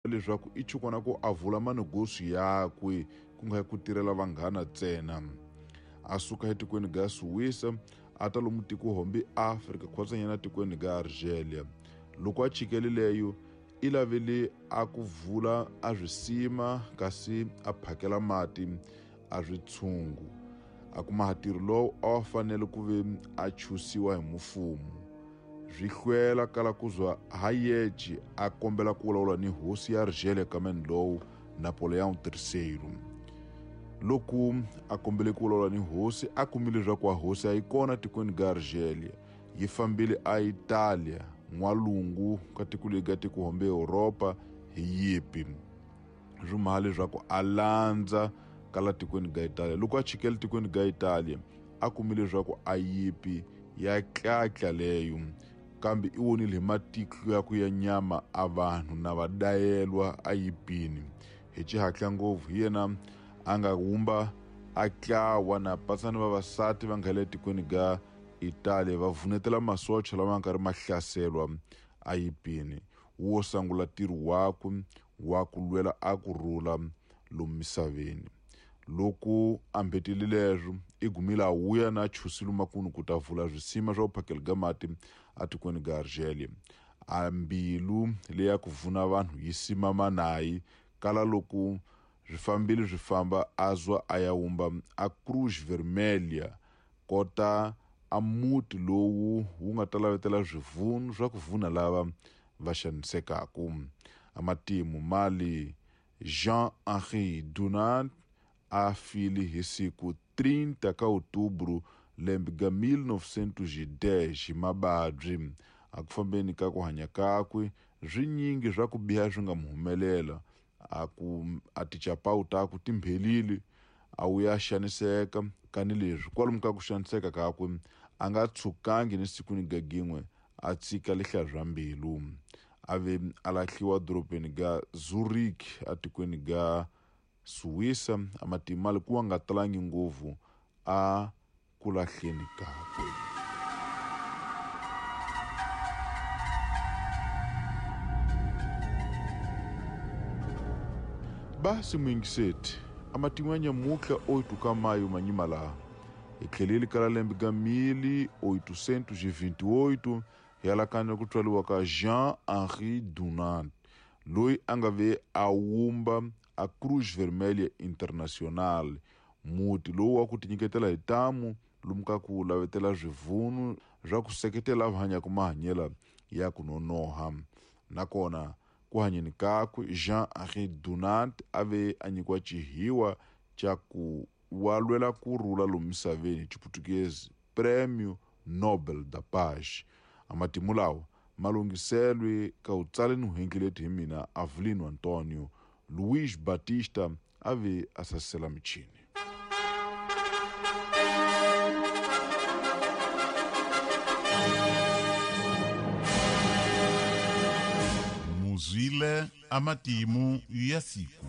Leswaku i chukwana ku a vula manegosi yakwe ku nga ku tirhela vanghana ntsena. A suka etikweni ga Suwisa a ta lomu tiko hombi Afrika khwatsanyana tikweni ga Argelia. Loko a chikele leyo i lavele a ku vula a swisima kasi a phakela mati a switshungu. A kuma ntirho lowu a wa fanele ku ve a chusiwa hi mufumo. Swi hlwela kala ku zwa Hayek a kombela ku vulavula ni hosi ya Argelia kameni lowu Napoleão III. Loko a kombele ku vulavula ni hosi a kumile leswaku a hosi a yi kona tikweni ga Argelia, yi fambile a Italia n'walungu ka tiko leri ga tiko hombe Europa hi yipi. Swi maha leswaku a landza kala tikweni ga Italia. Loko a chikele tikweni ga Italia a kumile leswaku a yipi ya tlatla leyo, kambe i vonile hi matihlo ya ku ya nyama a vanhu na va dayelwa a yipini. Hi xihatla ngopfu hi yena a nga wumba a tlawa na patsani vavasati va nga le tikweni ga Italia va vunetela masocha lama nga ri ma hlaselwa a yipini. Wo sungula ntirho wakwe wa ku lwela a ku rhula lomu misaveni. Loko a mbetile leswo i gumile a wuya na chusile makunu ku ta vula swisima swa ku phakela ga mati atikweni ga Argelia. A mbilu leya ku vuna vanhu yi simama nayi kala loko swi fambile swi famba a zwa a ya wumba a Cruz Vermelha kota a muti lowu wu nga ta lavetela swivunu swa ku vuna lava va xanisekaka. A matimu mali Jean-Henri Dunant a file hi siku 30 ka Outubro lembe ga 1910 hi mababyi. A ku fambeni ka ku hanya kakwe swinyingi swa ku biha swi nga mu humelela. A ku a tichapawu takwe ti mphelile a wuya xaniseka kani leswi kwalomu ka ku xaniseka kakwe a nga tshukangi ni siku ni gagin'we a tshika lihlaya swa mbilu. A ve a lahliwa dorobeni ga Zurich atikweni ga Suwisa. A matimali ku wa nga talangi ngopfu a ku lahleni kakwe. Basi muyingiseti a matimu ya nyamutlha 8 ka maio manyima laha hi tlheleli kala lembe ga 1828 hi alakanya ku tswariwa ka Jean-Henri Dunant loyi a nga ve a wumba a Cruz Vermelha International, muti lowu wa ku tinyiketela hi tamu lomu ka ku lavetela swivunu swa ku seketela va hanyaka mahanyelo ya ku nonoha. Nakona ku hanyeni kakwe Jean-Henri Dunant a ve a nyikiwa xihiwa xa ku wa lwela ku rhula lomu misaveni hi Xiputukezi Prêmio Nobel da Paz. A matimu lawa ma lunghiselwe ka u tsale ni huhengeleti hi mina Avelino Antonio. Luiz Batista a ve a sasela michini. Muzwile a matimu ya siku.